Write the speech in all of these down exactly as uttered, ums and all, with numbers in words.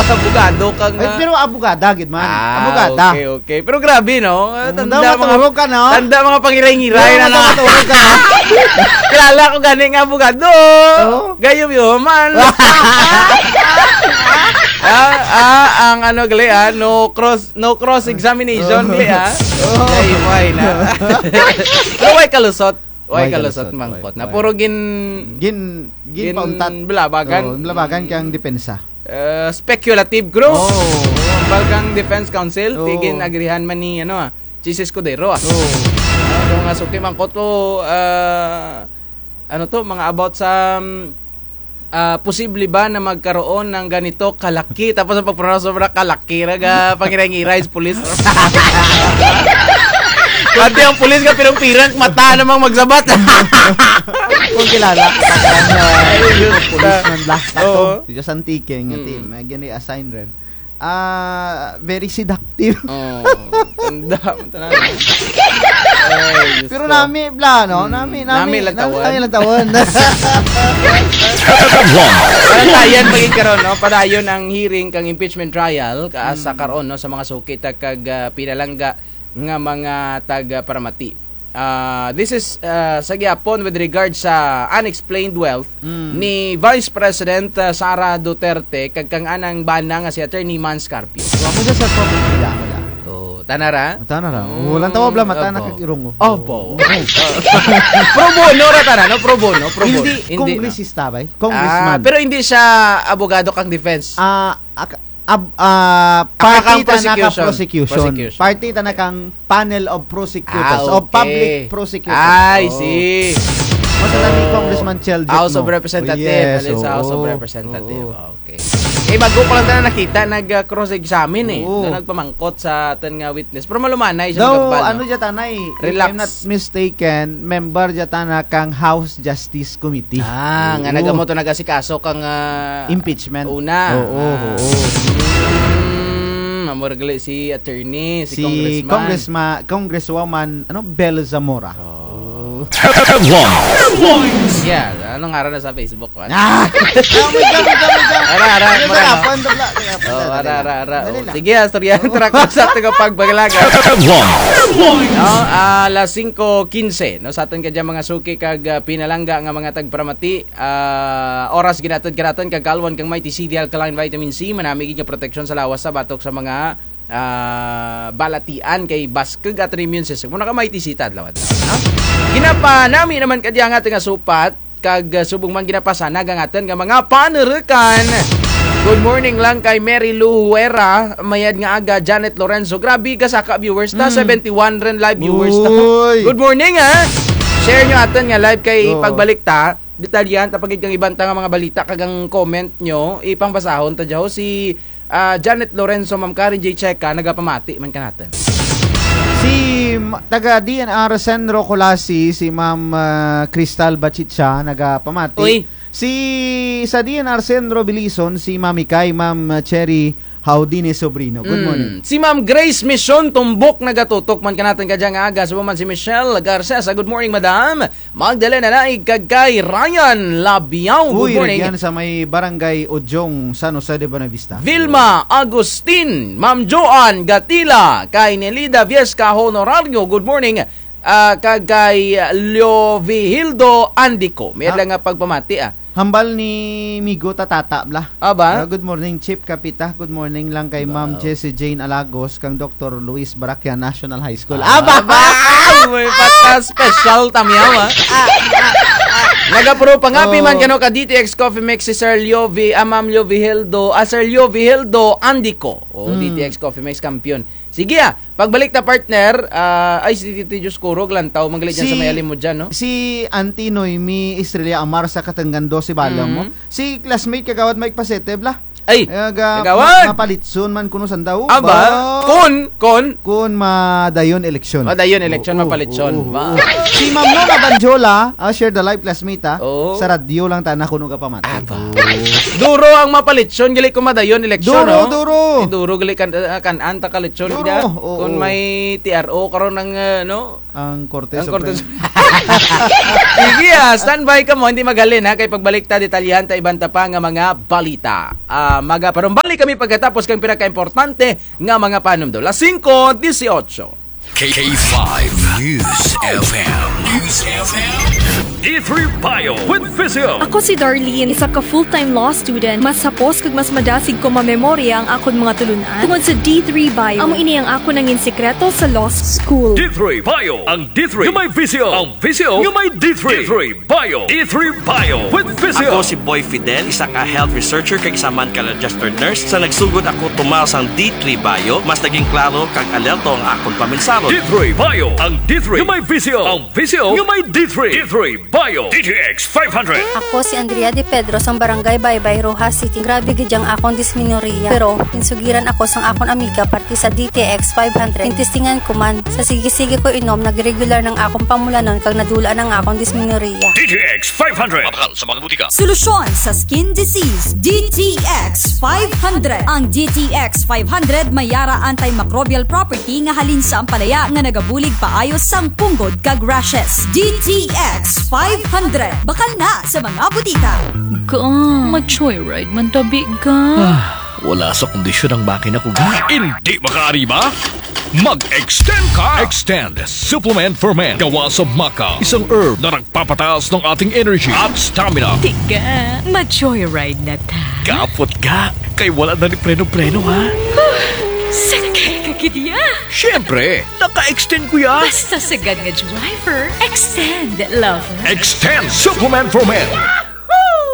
Abogado kang, Ay, ah, pero abogada, gid man. Ah, abogada. Okay, okay. Pero grabe, no? Ah, Mm, tanda daw mga, matulog ka, no? Tanda mga pangiray-ngiray na, no? Matulog ka. Kilala ko gani nga abogado. Oo. Gayom yun, man. Ah, ah, ang ano, gali, ah, no cross, no cross examination, gali, ah. Oo. Gayom, why na? Pero why kalusot? Why kalusot, mangkot na? Puro gin-, gin-, gin-, ginpauntat. Balabagan. Oo, balabagan kang depensa. Eh, speculative, bro. Oo. Hambal kang defense counsel, ti gin-agrihan man ni, ano, ah, Chiz Escudero, ah. Oo. Ano, mga suki, mangkot ko, ah, ano to, mga about sa, mm, ah, posible ba na magkaroon ng ganito kalaki? Tapos ang pag-pronounce sobra kalaki, naga pangiray-ngiray sa pulis. Pati ang pulis nga pirang-pirang, mata namang magsabat. Kung kilala, parang, ah, policeman bla. Sakto. Oo. Dito sa Antique, nga team, may gini-assign rin. Ah, very seductive. Oo. Tanda, tanda. Ay, Diyos ko. Pero nami, bla, no? Mm, nami, nami, nami lang tawon. Nami lang tawon. Padayon pa gid karon, no? Padayon ang hearing kang impeachment trial, ka-, sa karon, no? Sa mga suki ta kag, ah, pinalangga nga mga taga-paramati. Ah, this is, ah, sa gihapon with regard sa unexplained wealth ni Vice President, ah, Sara Duterte kag kang anang bana nga si Attorney Mans Carpio. Wa mo dyan sa property, wala, wala. Oh, tana ra? Tana ra. Mm, wala tawag bla mata na kag irong, oh. Opo. Pro bono ra tana, no? Pro bono, pro bono. Hindi, hindi, no? Kongresista, bay? Congressman. Ah, pero hindi siya abogado kang defense. Ah, ak-, Ab-, ah, party tana kang prosecution. Prosecution. Party tana kang panel of prosecutors, of public prosecutors. Ah, okay. I see. Mas alam ni Congressman Chel Jokno. House of Representative. Yes, oo. Sa House of Representative. Oo. Okay. Eh, bago ko lang tana nakita, nag, ah, cross-examine eh. Oo. Na nagpamangkot sa atun nga witness. Pero malumanay siya. Daw, ano dyan tana eh, if I'm not mistaken, member dyan tana kang House Justice Committee. Ah, nga nagamo to nagasikaso kang, ah, impeachment. Una. Oo, oo. Mm, amo ra gali si attorney, si congressman. Si congressma-, congresswoman, ano, Bel Zamora. Oh. Headlines. Yeah, ano ngaran na sa Facebook, man? Ah! Oh my God, my God, my God. Ara, ara, ano, ara, sarapan, tabla, sarapan, oh, sarapan, ara, ara, ara. Dali lang. Sige, ah, istorya, tara ko sa atun nga pagpangalaga. Headlines. No, ah, alas singko kinse, no, sa atun kadya mga suki kag, ah, pinalangga nga mga tagparamati, ah, oras ginatud kanatun kag kaalwan kang Mighty C D Alkaline Vitamin C, manami gid nga proteksyon sa lawas sa batok sa mga, ah, balatian kay baskug atun immune system. Muna ka Mighty C ta adlaw-adlaw, no? Ginapanami naman kadya nga atun nga supat, kag, ah, subong man ginapasanag ang atun nga mga panurukan. Good morning lang kay Mary Lou Huera, mayad nga aga, Janet Lorenzo. Grabe, gasaka viewers ta, seventy-one run live viewers ta. Uy. Good morning, ha. Share nyo atun nga live kay pagbalik ta. Detalyahan ta pa gid kang iban ta nga mga balita kag ang comment nyo, ipangbasahon ta dya ho. Si Ah, Janet Lorenzo, Ma'am Karen J Checa, nagapamati man kanatun. Si ma-, taga D N R Centro Culasi, si Ma'am, ah, Cristal Bachicha, nagapamati. Uy. Si, sa D N R Centro Belison, si Mami Kay, Ma'am Cherry Haudine Sobrino. Good morning. Si Ma'am Grace Mission Tumbok nagatutok man kanatun kadya nga aga. Subong man si Michelle Garcesa. Good morning, Madam. Magdalena Naig kag kay Ryan Labiao. Good morning. Uy, rugyan sa may Barangay Ojong, San Jose de Buenavista. Vilma Agustin, Ma'am Joan Gatila, kay Nelida Viesca Honorario. Good morning. Ah, kag kay Leovihildo Andico. May adlaw nga pagpamati, ah. Hambal ni Migo Tatata, bla. Aba? Ah, good morning, Chief Kapita. Good morning lang kay Ma'am Jessie Jane Alagos, kang Doktor Luis Barakian National High School. Aba! Aba! May pata special tamyaw, ah. Nagapuro pangapi man kano ka D T X Coffee Mix si Sir Leo V, ah, Ma'am Leo Viheldo, ah, Sir Leo Viheldo Andico. Oh, D T X Coffee Mix kampiyon. Sige, ah. Pagbalik ta, partner, ah, ay, si Tito Diyos Kurog, lantaw, manggali dyan sa may alim mo dyan, no? Si Auntie Noemi Estrella Amar sa Katanggan dose, bala mo. Si classmate, Kagawad Mike Pasete, bla. Ay, Kagawad! Mapalitson man kuno sanda. Aba, kun, kun. Kun madayon eleksyon. Madayon eleksyon, mapalitson. Oo, oo. Si Ma'am Nona Banjola, ah, share the live classmate, ah. Oo. Sa radyo lang tana kuno gapamati. Aba. Duro ang mapalitson, gali kun madayon eleksyon, no? Duro, duro. Eh, duro, gali kan, ah, kan-an ta kalitson. Duro, oo. Kun may T R O karon ang, ah, no? Ang Korte Suprema. Sige, ah, standby kamo, hindi maghalin, ha, kay pagbalik ta, detalyahan ta iban ta pa nga mga balita. Ah, maga-, parumbalik kami pagkatapos kang pinakaimportante nga mga panumdom. Las singko disiotso. K five News F M. News F M. D three Bio with Physio. Ako si Darlene, isa ka full-time law student. Mas hapos kag mas madasig ko mamemorya ang akon mga tulun-an tungod sa D three Bio. Amo ini ang akon nangin sikreto sa law school. D three Bio, ang D three nga may Physio. Ang Physio nga may D three. D three Bio. D three Bio with Physio. Ako si Boy Fidel, isa ka health researcher kag isa man ka registered nurse. Sa nagsugod ako tumar sang D three Bio, mas naging klaro kag alerto ang akon paminsahon. D three Bio, ang D three nga may Physio. Ang Physio nga may D three. D three Bio. D T X five hundred. Ako si Andrea De Pedro sang Barangay Baybay, Roxas City. Grabe gid ang akon dismenorrhea. Pero, ginsugiran ako sang akon amiga parte sa D T X five hundred. Gintestingan ko man. Sa sige-sige ko inom, nagregular na ang akon pamulanon kag nadula na ang akon dismenorrhea. D T X five hundred. Mabakal sa mga butika. Solusyon sa skin disease, D T X five hundred. Ang D T X five hundred may ara antimicrobial property nga halin sa ampalaya nga nagabulig paayo sang punggod kag rashes. D T X five hundred. Bakal na sa mga butika. Ga, ma-joyride man tabi, ga. Ah, wala sa kondisyon ang makina ko, ga. Indi makaariba? Mag-extend ka! Extend Supplement for Men. Gawa sa maca, isang herb na nagpapataas ng ating energy at stamina. Tiga, ma-joyride na ta. Kapot, ga. Kay wala na ni preno-preno, ha? Huh, sakay ka gid ya. Siyempre, naka-extend ko ya. Basta sagad nga driver, extend, lover. Extend Supplement for Men.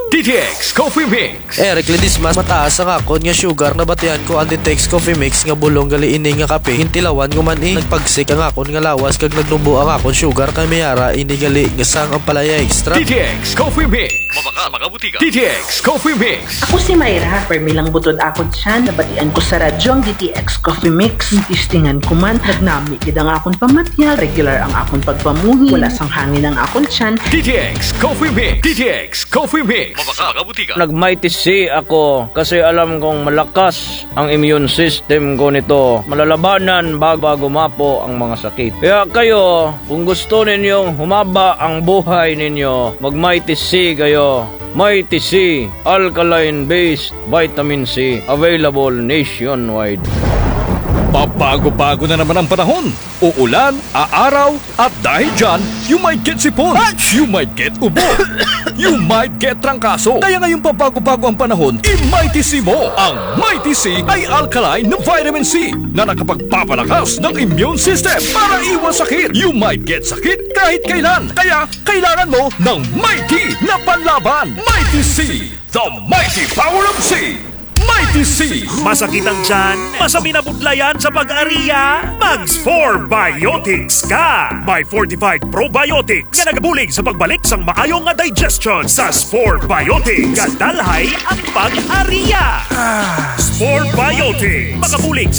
D T X Coffee Mix. Eric Ledesma, mataas ang akon nga sugar, nabatian ko ang D T X Coffee Mix nga bulong gali ini nga kape. Gintilawan ko man, eh. Nagpagsik ang akon nga lawas kag nagnubo ang akon sugar kay may ara ini gali nga sang ampalaya extra. D T X Coffee Mix. Mabakal sa mga butika. D T X Coffee Mix. Ako si Myra, permi lang butod akon tiyan. Nabatian ko sa radyo ang D T X Coffee Mix. Gintistingan ko man, nagnami gid ang akon pamatyag, regular ang akon pagpamuhi, wala sang hangin ang akon tiyan. D T X Coffee Mix. D T X Coffee Mix. Mabakal sa mga butika. Nag-Mighty C ako kasi alam kong malakas ang immune system ko nito. Malalabanan bago, bago gumapo ang mga sakit. Kaya kayo, kung gusto ninyong humaba ang buhay ninyo, mag-Mighty C kayo. Mighty C, alkaline-based vitamin C, available nationwide. Pabago-bago na naman ang panahon. Uulan, aaraw, at dahil dyan, you might get sipon, you might get ubo, you might get trangkaso. Kaya ngayong pabago-bago ang panahon, i-Mighty C mo. Ang Mighty C ay alkaline na vitamin C na nakapagpapalakas ng immune system para iwas sakit. You might get sakit kahit kailan. Kaya kailangan mo ng Mighty na panlaban. Mighty C, the mighty power of C. Mighty C. Masakit ang tiyan? Masamin na budlayan sa pag-aria? Mag-Spore Biotics ka! May fortified probiotics nga nagabulig sa pagbalik sang maayo nga digestion. Sa Spore Biotics, gadalhay ang pag-aria. Spore Biotics, makabulig sa